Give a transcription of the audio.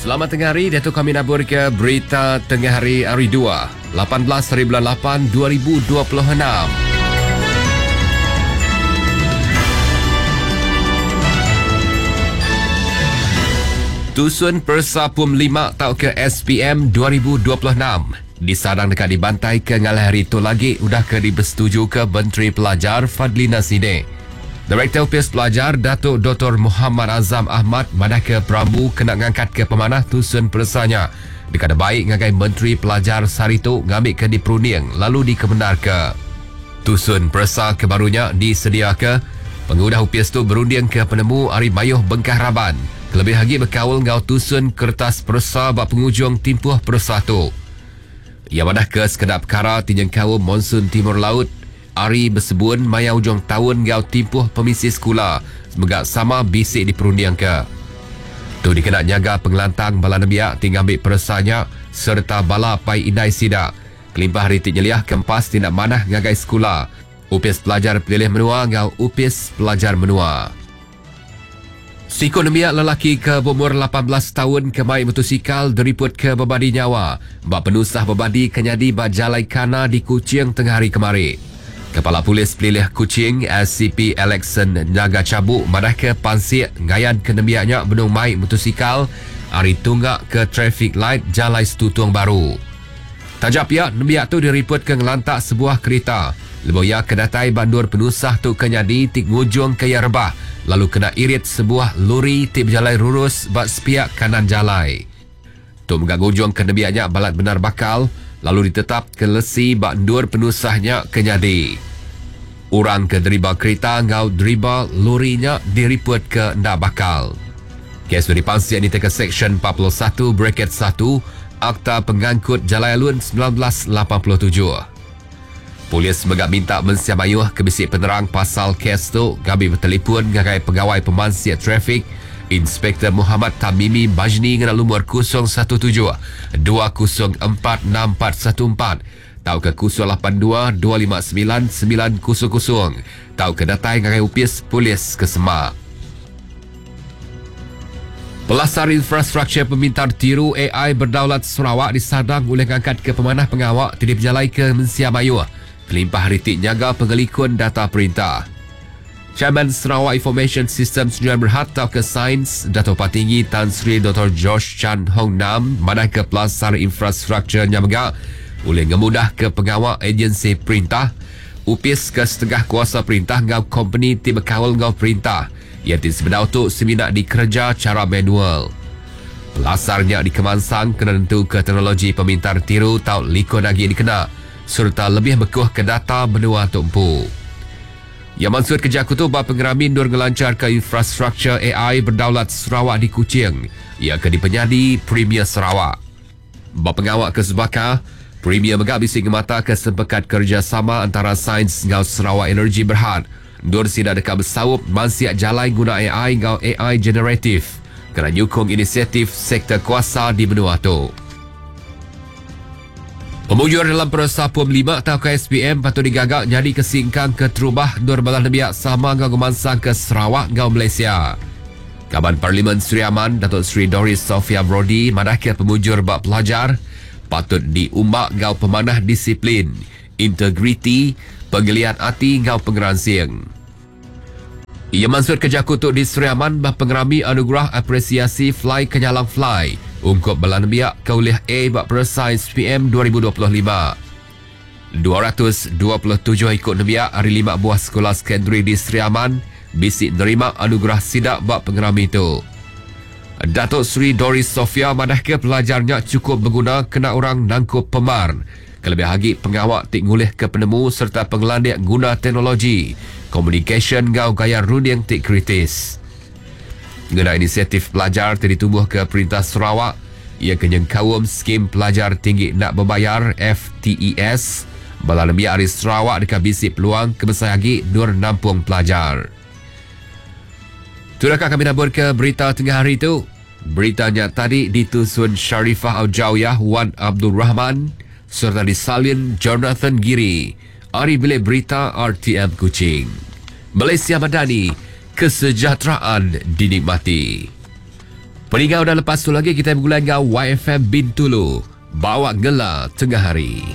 Selamat tengah hari, diatu kami nabur ke berita tengah hari hari 2, 18 hari bulan 8 2026. Tusun Peresa Pum 5 tauka ke SPM 2026 disadang dekat dibantai ke ngalah hari tu lagi udah ke dibersetuju ke Menteri Pelajar Fadlina Sidek. Direktur Upis Pelajar Datuk Dr. Muhammad Azam Ahmad madah ke Pramu kena ngangkat ke pemanah tusun peresanya. Dekat baik ngagai Menteri Pelajar Saritu ngambil ke diperunding lalu dikemenar ke. Tusun peresa ke barunya disedia ke pengudah Upis tu berunding ke penemu Ari Mayuh Bengkah Raban. Kelebih lagi berkaul ngau tusun kertas peresa bak penghujung timpuh peresa tu. Ia madah ke sekedap perkara tinjeng kaum monsun timur laut Ari bersebun maya ujung tahun ngau timpuh pemisi sekolah semoga sama bisik diperunding ke. Tu dikena nyaga pengelantang bala nembiak ti ngambil peresanya serta bala pai indai sida. Kelimpah hari ti nyeliah kempas tindak manah ngagai sekolah. Upis Pelajar Pelilih Menua ngau Upis Pelajar Menua. Siku nembiak lelaki ke berumur 18 tahun ke mai motosikal deriput ke bebadi nyawa. Bak penusah bebadi kenyadi ba Jalai Kana di Kuching tengah hari kemari. Kepala Polis Pelilih Kuching SCP Alexson Nyaga Cabuk madah ke pansik ngayan ke nembiaknya benung mai motosikal hari tunggak ke traffic light Jalai Setutung Baru. Tajak pihak nembiak tu diriput ke ngelantak sebuah kereta. Lebuh ia ke datai bandur penusah tu ke nyadi ti ngujung ke ia rebah lalu kena irit sebuah lori ti berjalai rurus ba sepiak kanan jalai. Tu mega ngujung ke nembiaknya balat benar bakal lalu ditetap ke lesi ba endur penusahnya ke nyadi. Orang ke deriba kereta ngau deriba lorinya diriput ke ndak bakal. Kes tu dipansik di teka Seksyen 41 bracket 1 Akta Pengangkut Jalai Alun 1987. Polis mega minta mensia mayuh ke bisi penerang pasal kes tu gabi bertelefon ngagai pegawai pemansik trafik Inspektor Muhammad Tamimi Bajni ngena lumur 017 204 6414 tau ke 082 259 900 tau ke datai ngagai upis polis ke Semak. Pelasar infrastruktur pemintar tiru AI berdaulat Sarawak disadang oleh ngangkat ke pemanah pengawak ti dipejalai ke Mensia Mayuh. Kelimpah ritik nyaga pengelikun data perintah. Chairman Sarawak Information System Sdn Berhad tau ke Sains Dato' Patinggi Tan Sri Dr. George Chan Hong Nam madah ke pelasar infrastruktur nyamega oleh ngemudah ke pengawak agensi perintah upis ke setengah kuasa perintah ngau company ti berkawal ngau perintah yang ti sebenar tu seminak dikerja cara manual. Pelasarnya dikemansang kena tentu ke teknologi pemintar tiru tau likun lagi dikena serta lebih bekuh ke data menua tumpu. Yang maksud kerja aku tu bab pengeramin nur ngelancar ke infrastruktur AI berdaulat Sarawak di Kuching. Ia ke dipenyadi Premier Sarawak. Bab pengawak ke sebaka, Premier mega bisi ngemata ke sempekat kerjasama antara Sains ngau Sarawak Energy Berhad. Nur sida dekat bersaup mansiak jalai guna AI ngau AI generatif kena nyukung inisiatif sektor kuasa di benua tu. Pemujur dalam peresa Pum 5 atau KSPM patut digagak nyadi kesingkang ke terubah Nur Balah Nebiak sama ngau ngemansang ke Sarawak ngau Malaysia. Kaban Parlimen Sri Aman Datuk Sri Doris Sophia Brody madah ke pemujur bak pelajar patut diumbak ngau pemanah disiplin, integriti, penggeliat hati ngau pengeransing. Ia maksud kerja kutuk di Sri Aman bah pengerami anugerah apresiasi Fly Kenyalang Fly ungkup bala nembiak ke ulih A bak peresa SPM 2025. 227 ikut nembiak hari 5 buah sekolah sekondari di Sri Aman bisik nerima anugerah sidak bak pengerami itu. Datuk Sri Doris Sofia madah ke pelajarnya cukup berguna kena orang nangkup pemar. Kelebih lagi pengawak tik ngulih ke penemu serta pengelandik guna teknologi, communication ngau gaya runding tik kritis. Ngena inisiatif pelajar ti ditubuh ke Perintah Sarawak, ia kenyeng kaum skim pelajar tinggi nak berbayar FTES, bala nembiak ari Sarawak dekat bisi peluang kebesar lagi nur nampung pelajar. Itulah kami nabur ke berita tengah hari itu. Beritanya tadi ditusun Sharifah Aujawiyah Wan Abdul Rahman serta disalin Jonathan Giri. Ari Bilik Berita RTM Kuching. Malaysia Madani, kesejahteraan dinikmati. Peninga udah lepas tu lagi kita bergulai dengan YFM Bintulu. Bawa ngela tengah hari.